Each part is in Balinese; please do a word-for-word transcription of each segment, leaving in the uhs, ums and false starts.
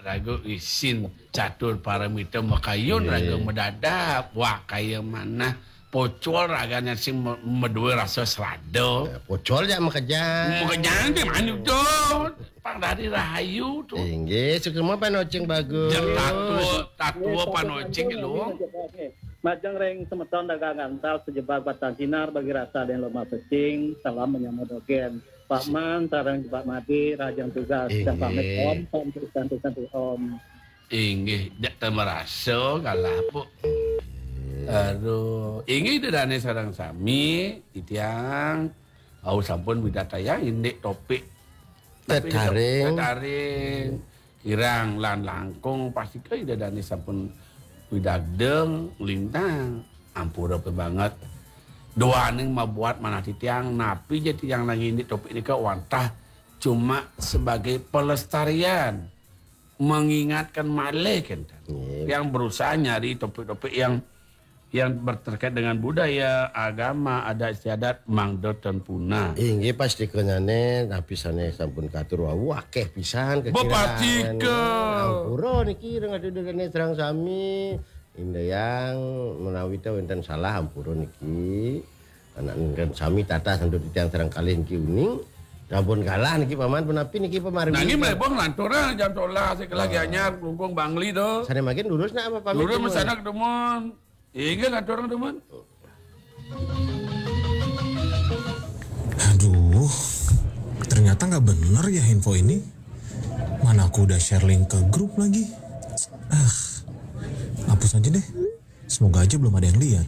Raga isin catur paramita makayun, raga madadap. Wah, kaya manah pocol ragané sing ma-, madué rasa srada. Pocol jak makejang. Makejang té manik to. Pang dari rahayu to. Inggih, suksma panocing bagus. Jak tatua, tatua panocing lu. Majeng ring semeton dagang gantal sejebag batang sinar bagi rasa dan lomba pecing. Salam menyambut dogén. Pak Man, sareng Pak Madi, rahajeng tugas. Dan pamit, Om, Om, Santi, Santi, Om. Inggih, jak tamarasa kalah, Puk. Aduh, inggih Ida dané sareng sami, titiang, au sampun midartayang indik topik. Tapi Tetaring. Tetaring. Kirang lan langkung pastika Ida dané sampun widagdeng, nglintang. Ampura banget. Duaning mabuat manah titiang, napi ja titiang nanggihin topik nika wantah cuma sebagai pelestarian, mengingatkan malih kénten. Nggih. Yang berusaha nyari topik-topik yang, yang berterkait dengan budaya, agama, adat istiadat, mangda ten punah. Inggih, pastika nyané, napi sané sampun katur wau, akéh pisan kekirangan. Bepastika. Ampura niki ring Ida dané sareng sami. Indayang menawi té wénten salah ampura niki. Anak nenten sami tata santu titiang sareng kalih niki uning. Sampun kalah niki Paman, punapi niki pamargi. Nanging mlebong lanturang jam sebelas, sekelah Gianyar, Klungkung, Bangli to. Sané mangkin lurus nak apa pamit? Lurus dumun? Masanak dumun. Inggih lanturang dumun. Aduh, ternyata nggak bener ya info ini. Mana aku udah share link ke grup lagi. Ah, hapus aja deh. Semoga aja belum ada yang lihat.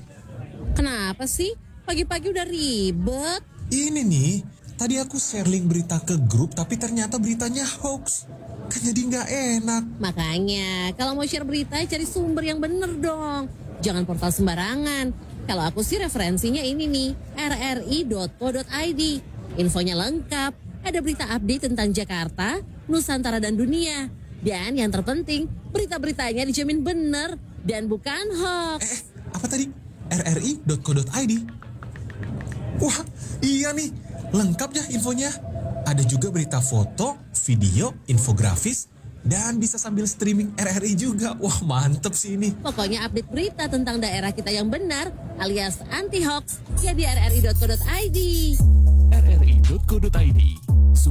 Kenapa sih? Pagi-pagi udah ribet. Ini nih, tadi aku share link berita ke grup, tapi ternyata beritanya hoax. Kan jadi nggak enak. Makanya, kalau mau share berita, cari sumber yang bener dong. Jangan portal sembarangan. Kalau aku sih referensinya ini nih, R R I dot co dot I D. Infonya lengkap, ada berita update tentang Jakarta, Nusantara dan dunia. Dan yang terpenting, berita-beritanya dijamin bener dan bukan hoax. Eh, eh, apa tadi? R R I dot co dot I D. Wah, iya nih, lengkap ya infonya. Ada juga berita foto, video, infografis, dan bisa sambil streaming R R I juga. Wah, mantep sih ini. Pokoknya update berita tentang daerah kita yang benar alias anti hoax ya di R R I dot co dot I D. R R I dot co dot I D.